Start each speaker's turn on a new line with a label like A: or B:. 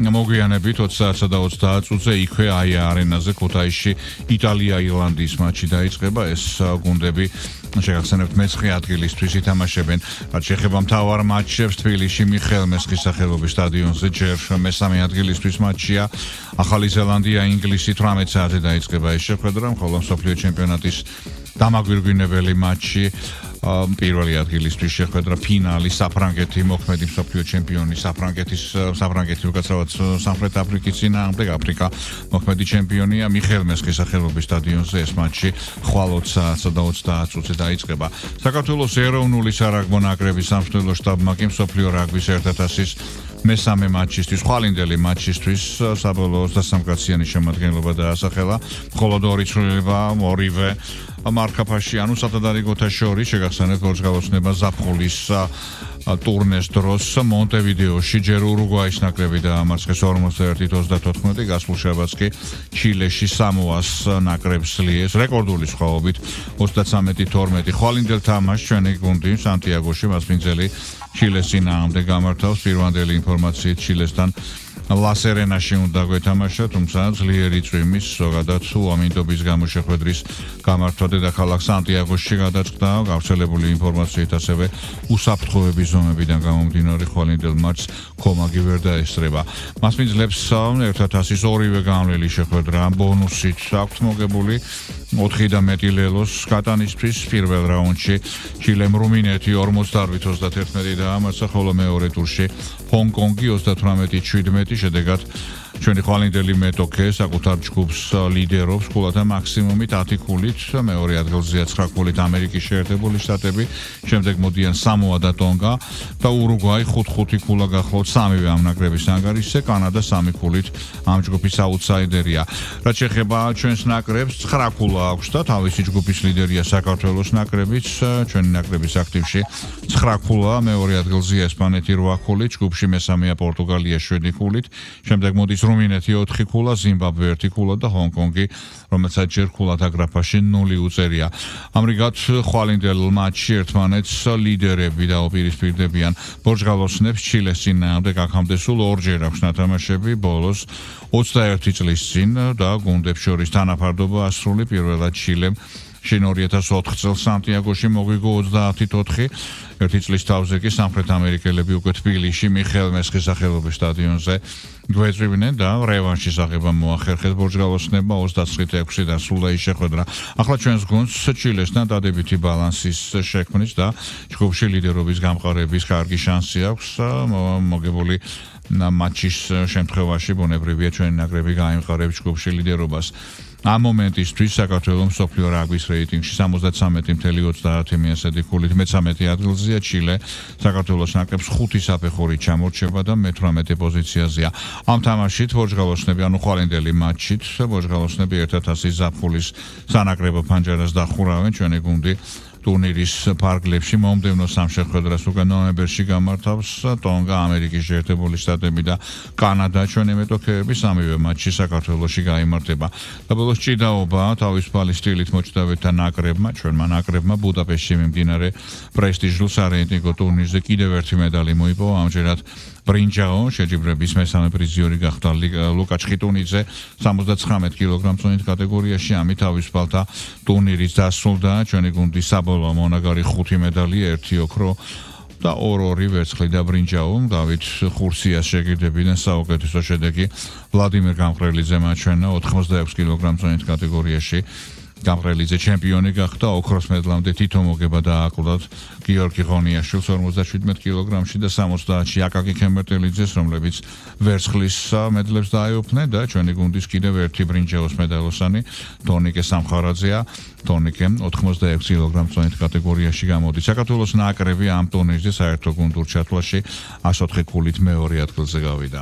A: მოგვიანებით 20-სა და 30 წუთზე იქვე აია არენაზე ქუთაისში იტალია-ირლანდიის მატჩი დაიწყება. ეს გუნდები შეგახსენებთ მე-9 ადგილისთვის ითამაშებენ. რაც შეეხება მთავარ მატჩებს, თბილისში მიხეილ მესხის სახელობის სტადიონზე ჯერ მე-3 ადგილისთვის მატჩია. ახალი ზელანდია ინგლისი 18 საათზე დაიწყება ეს შეხვედრა, ხოლო მსოფლიო ჩემპიონატის დამაგვირგვინებელი მატჩი პირველი ადგილისთვის შეხვედრა ფინალი საფრანგეთი მოქმედი მსოფლიო ჩემპიონი საფრანგეთი უკაცრავად სამხრეთ აფრიკის წინააღმდეგ აფრიკა მოქმედი ჩემპიონია მიხეილ მესხის სახელობის სტადიონზე ეს მატჩი ხვალ 20 საათსა და 30 წუთზე დაიწყება. საქართველოს ეროვნული სარაგბო ნაკრების სამშობლო შტაბმა კი მსოფლიო რაგბის 1000-ის მე-3 მატჩისთვის, ხვალინდელი მატჩისთვის საბოლოო 23 კაციანი შემადგენლობა დაასახელა, მხოლოდ 2 ცვლილება, ორივე მარკაფაში, ანუ სათადარიგოთა შორის შეგახსენებთ გორჯგალოსნება ზაფხულის ტურნეს დროს მონტევიდეოში ჯერ ურუგვაის ნაკრები დაამარცხეს 41-34, გასულ შაბათს კი ჩილეში სამოას ნაკრებს ლიეს რეკორდული სხვაობით 33-12. ხვალინდელ თამაშს ჩვენი გუნდი სანტიაგოში მასპინძელი ჩილეს წინააღმდეგ გამართავს. პირვანდელი ინფორმაციით ჩილესთან ლასერენაში უნდა გვეთამაშა, თუმცა ძლიერი წვიმის, ზოგადად უამინდობის გამო შეხვედრის გამართვა დედაქალაქ სანტიაგოში გადაწყდა. გავრცელებული ინფორმაციით ასევე უსაფრთხოების ზომებიდან გამომდინარე ხვალინდელ მატჩს კომაგი ვერ დაესწრება. მასპინძლებს 1000-ის ორივე განვლილი შეხვედრა ბონუსით აქვთ მოგებული 4 და მეტი ლელოს კატანისთვის. პირველ რაუნდში ჩილემ რუმინეთი 48-31 დაამარცხა, ხოლო მეორე ტურში ჰონკონგი 38-17. შედეგად ჩვენი ხვალინდელი მეტოქე საკუთარ ჯგუფს ლიდერობს ქულათა მაქსიმუმით 10 ქულით, მეორე ადგილზეა 9 ქულით ამერიკის შეერთებული შტატები, შემდეგ მოდიან სამოა და ტონგა და ურუგვაი 5 ქულა გახლავთ სამივე ამ ნაკრების ანგარიშზე, კანადა 3 ქულით ამ ჯგუფის აუტსაიდერია. რაც შეეხება ჩვენს ნაკრებს 9 ქულა აქვს და თავისი ჯგუფის ლიდერია საქართველოს ნაკრებიც, ჩვენი ნაკრების აქტივში 9 ქულა, მეორე ადგილზეა ესპანეთი 8 ქულით, ჯგუფში მე-3-ია პორტუგალია 7 ქულით, შემდეგ მოდის რუმინეთი 4 ქულა, ზიმბაბვე 1 ქულა და ჰონკონგი, რომელსაც ჯერ ქულათა გრაფაში 0 უწერია. ამრიგად ხვალინდელ მატჩში ერთმანეთს ლიდერები დაუპირისპირდებიან. ბორჯგალოსნებს ჩილეს წინააღმდეგ აქამდე სულ ორჯერ აქვს ნათამაშები, ბოლოს 21 წლის წინ და გუნდებს შორის თანაფარდობა ასრული. პირველად ჩილემ შინ 2004 წელს სანტიაგოში მოგვიგო 30-4. ერთი წლის თავზე კი სამხრეთ ამერიკელები უკვე თბილისში მიხეილ მესხის სახელობის სტადიონზე გვეწვივნენ და რევანშის აღება მოახერხეს ბორჯგალოსნებმა 29-6 დასრულდა ის შეხვედრა. ახლა ჩვენს გუნდს ჩილესთან დადებითი ბალანსის შექმნის და ჯგუფში ლიდერობის გამყარების კარგი შანსი აქვს. მოგებული მატჩის შემთხვევაში ბუნებრივია ჩვენი ნაკრები გაიმყარებს ჯგუფში ლიდერობას. ამ მომენტისთვის საქართველოს მსოფლიო რაგბის რეიტინგში 73.30 მიესადი ქულით მე-13 ადგილზეა ჩილე, საქართველოს ნაკრებს 5 საფეხურით ჩამორჩება და მე-18 პოზიციაზეა. ამ თამაშით ბორჯგალოსნები, ანუ ხვალინდელი მატჩით ბორჯგალოსნები 1000-ის ზაფხულის სანაკრებო ფანჯარას დახურავენ. ჩვენი გუნდი ტურნირის ფარგლებში მომდევნო სამ შეხვედრას უკვე ნოემბერში გამართავს ტონგა, ამერიკის შეერთებული შტატები და კანადა. ჩვენი მეტოქეები სამივე მატჩი საქართველოში გაიმართება. და ბოლოს ჭიდაობა თავისუფალი სტილით მოჭდავეთა ნაკრებმა, ჩვენმა ნაკრებმა ბუდაპეშტში მიმდინარე პრესტიჟულ სარეიტინგო ტურნირზე კიდევ ერთი медаლი მოიპოვა. ამჯერად ბრინჯაო შეჯიბრების მე-3 პრიზიორი გახდა ლუკა ჩხიტუნიძე 79 კილოგრამ-წონით კატეგორიაში. ამით თავისუფალთა ტურნირიც დასრულდა. ჩვენი გუნდის საბოლოო მონაგარი 5 медаლი, 1 ოქრო და 2 ვერცხლი და ბრინჯაო. დავით ხურსიას შეგირდებიდან საუკეთესო შედეგი ვლადიმერ გამყრელიძე მაჩვენა 86 კილოგრამ-წონით კატეგორიაში. გამყრელიძე ჩემპიონი გახდა, ოქროს მედლამდე თითო მოგება დააკლდათ გიორგი ღონიაშვილს 57 კილოგრამში და 70-ში აკაკი ქემერტელიძეს, რომლებიც ვერცხლის მედლებს დაეუფლნენ და ჩვენი გუნდის კიდევ ერთი ბრინჯაოს მედალოსანი ტონიკე სამხარაძეა. ტონიკე 86 კილოგრამ-წონით კატეგორიაში გამოდის. საქართველოს ნაკრები ამ ტურნირზე საერთო გუნდურ ჩათვლაში 104 ქულით მეორე ადგილზე გავიდა.